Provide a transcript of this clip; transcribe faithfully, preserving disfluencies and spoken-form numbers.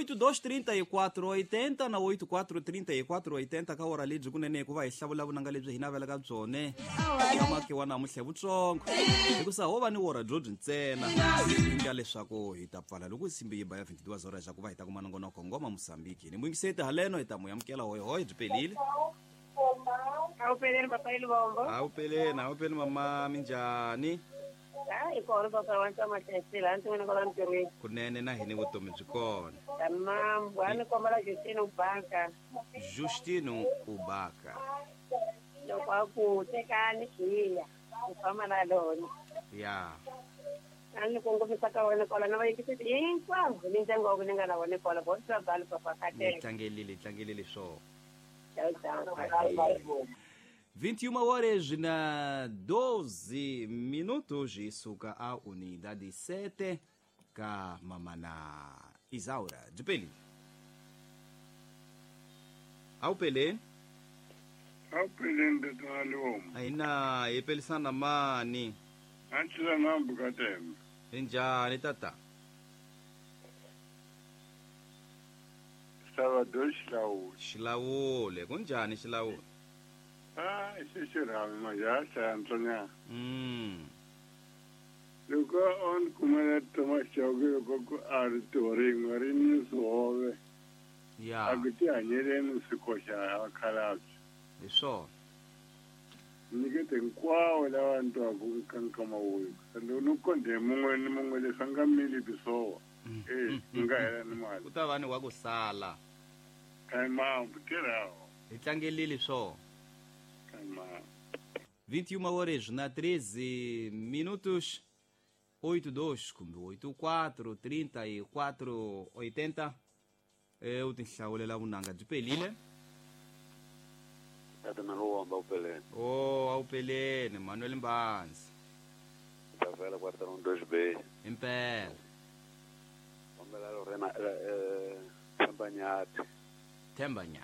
Oito dois trinta e quatro oitenta na oito quatro trinta e quatro oitenta ka ora lebyi kunene ku va hi hlavula vunanga lebyi hi navelaka byone eka makiwa namuntlha hi vutsongo hikusa ho va ni wora byo byi ntsena nga leswaku hi ta pfala loko simbi yi ba ya vinte e duas horas ku va hi ta kuma nongonoko ngoma Mosambiki ni muyingiseti haleno hi ta mu amukela hoyihoyi byi pelile. Awupeleni, papa Ilubombo. Awupeleni, awupeli mama, minjhani? Hayi, kona papa wa Ntamahlaisile, a ndzi n'wina kwala ntirhweni? Kunene, na hini vutomi byi kona. Tamam, a ni kombela Justino Banka. Justino Ubaka. Loko a ku tekani hiya ku famba na lona. Ya. A ni kongomisa ka wena kwala na vayingiseti hinkwavo ni ndyangu wa ku ni nga na wona kwala bo travel, papa. Ni Kateka. tlangelile, tlangelile swona. Tchau, tchau. vinte e uma horas na doze minutos e suka a unidade sete ka mamana Isaura Dipeli. Awupeleni. Awupeleni, tata Liwoma. Ayina hi pelisana mani? Antshila nambu katemba. Njhani tata? Salvador Xilawuli. Xilawule, kunjhani Xilawule? Ah, xixirhami manje a hlaya ntsonyana. mm Loko on kumela Thomas Chauke, loko ku a ri tiho rin'we ri ni swihove. Ya. A ku tihanyeleni swi koxa vakhalabye. Hi swona. Nyikete hinkwawo lava ni twaku ka nkama wuyu loko ni kondhe mun'we ni mun'we leswi a nga milipi swowa e nga hela ni mali. Ku ta va ni wa ku sala. Kaimambu tirhawo. Hi tlangelile swona. Kaimambu. vinte e uma horas na treze minutos, oito dois kumbe oito quatro trinta e quatro oitenta e u tinhlawulela vunanga byi pelile. Tata Naluwamba, upeleni. O, awupeleni Manuel Mbanzi. Tavela quarteirão dois B. Impela. Kombela Lorena eh Themba Nyathi. Themba Nyathi.